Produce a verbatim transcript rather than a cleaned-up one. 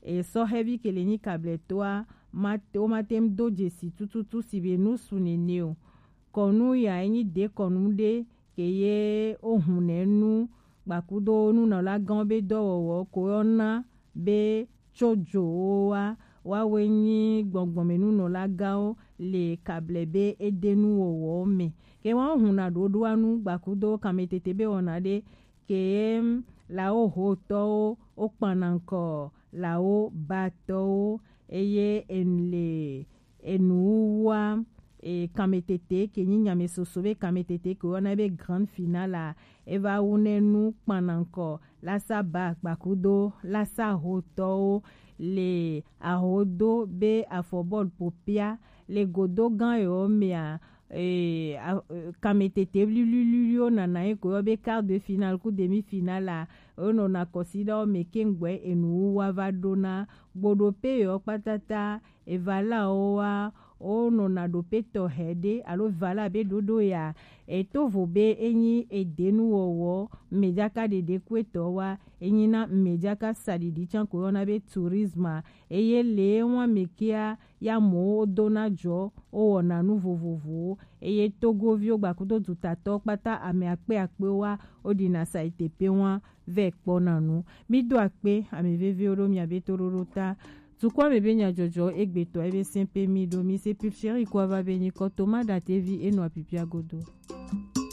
e sɔhɛvi ke le nyi kablɛtɔ a, ma te wo ma te ŋu do dzesi tututu si be nu su nene o. Kɔnu ya e nyi de kɔnu ɖe ke ye wo hun nɛ nu gbakudo nunɔlagãwo be dɔwɔwɔ ko yɔna be tso dzo wo wa, woawoe nyi gbɔngbɔnmenunɔlagãwo le kablɛ be edenuwɔwɔwo me. Ke woawo huna ɖoɖoa nu gbakudo kanmetete be wɔna ɖe ke ye lawo hotɔwo wo kpanankɔ lawo batɔwo eye enu le enuwuwua e, kanmetete ke nyi nyamesoso be kanmetete ke woyɔna be grande finale a, e va wu nɛ nu kpanankɔ lasa ba gbakudo lasa hotɔwo le ahodo be afɔbɔlu popia le godo gã yewo mea, e, a, e, kanmetete wliwliwliwo nana ye ko yɔ be quart de finale ku demi finale a, wo nɔna kɔsiɖawo me keŋgbɛ enuwuwua va ɖona gboɖope yewo kpatata evalawo wa wo nɔna ɖope tɔxɛ ɖe alo vala be ɖoɖo ya eto vo be enyi edenuwɔwɔ mejaka ɖeɖe ku etɔ wa enyi na mejaka saɖiɖi can ko yɔna be tourisme eye le wa me kia ya mowo dona jɔ wo wɔna nu vovovowo eye togoviwo gbakudo dutatɔwo kpata ame akpe akpe wa wo ɖina saitepe wa vɛ kpɔna nu. Mi do akpe ame veviwo ɖo miabe toɖoɖo ta. Tukɔ ame be nyadzɔdzɔ egbetɔ ebe sɛn pe mi ɖo mi se pipsiri kɔ va be nyikɔ toma ɖatevi enɔ apipia godo.